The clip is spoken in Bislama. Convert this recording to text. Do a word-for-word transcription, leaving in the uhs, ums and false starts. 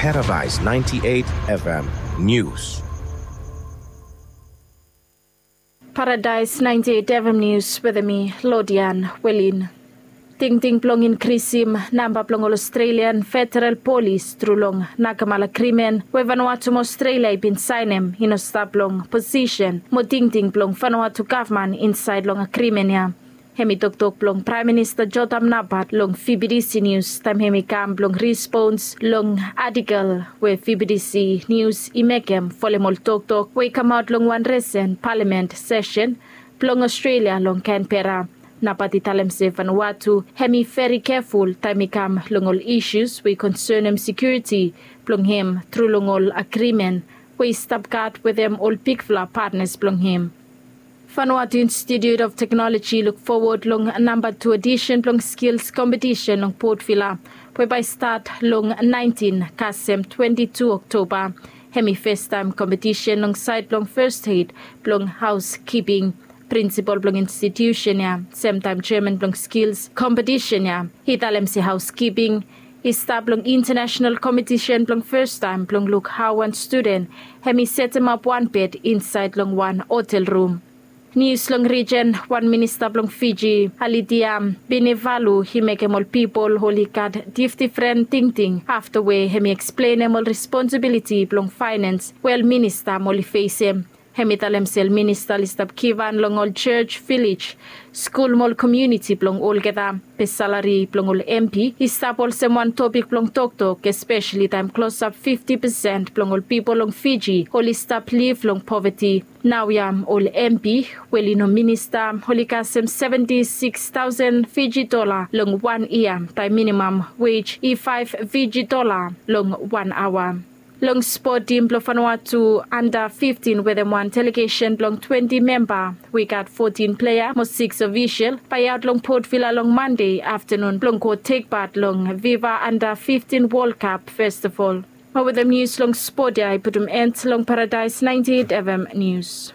Paradise ninety-eight F M News. Paradise ninety-eight F M News wetem mi, Lodian Welin. Tingting blong inkrisim namba blong ol Australian federal polis tru long Nakemal Agrimen we Vanuatu mo Australia i bin saenem i no stap long posisen mo tingting blong Vanuatu gavman insaed long agrimen ya. Hem i toktok blong Praem Minista Jotham Napat long V B D C News taem hem i kam blong respons long atikol we V B D C News i mekem folem ol toktok we i kamaot long wan risen palamen sesen blong Australia long Canberra. Napat i talem se Vanuatu hem i veri keful taem i kam long ol isus we i konsenem sekiuriti blong hem tru long ol agrimen we i stap gat wetem ol bigfala patnas blong hem. Vanuatu Institute of Technology i luk fowod long namba tu odisen blong skils kompetisen long Port Vila we bae i stat long naentin kasem twenti tu Oktoba. Hem i festaem kompetisen long saed blong fes eid blong haoskiping. Prinsipol blong institusen ya, semtaem jeaman blong skils kompetisen ya, i talem se haoskiping i stap long intanasenal kompetisen blong festaem blong luk hao wan studen hem i setemap wan bed insaed long wan otel rum. Nius long rijen, wan minista blong Fiji, Alidia Binivalu, i mekem ol pipol oli gat difdifren tingting afta we hem i eksplenem ol responsibiliti blong faenans we ol minista oli fesem. Hem i talem se ol minista oli stap givhan long ol jos, vilej, skul mo ol komuniti blong olgeta. Be salari blong ol M P i stap olsem wan topik blong toktok, espeseli taem klosap fifti pesen blong ol pipol long Fiji oli stap liv long poveti. Naoia ol M P we oli no minista oli kasem seventi sikis taosen Fiji dola long wan yia, taem minimam wej i faef Fiji dola long wan aoa. Long spot, tim blong Vanuatu anda fiftin wetem wan delegesen blong twenti memba, we i gat fotin plea mo sikis ofisol, bae i aot long Port Vila long Mande aftanun blong go tek pat long Viva Anda fiftin Wol Kap Festival. Mo wetem nius long spot ya i putum en long Paradise naentin F M Nius.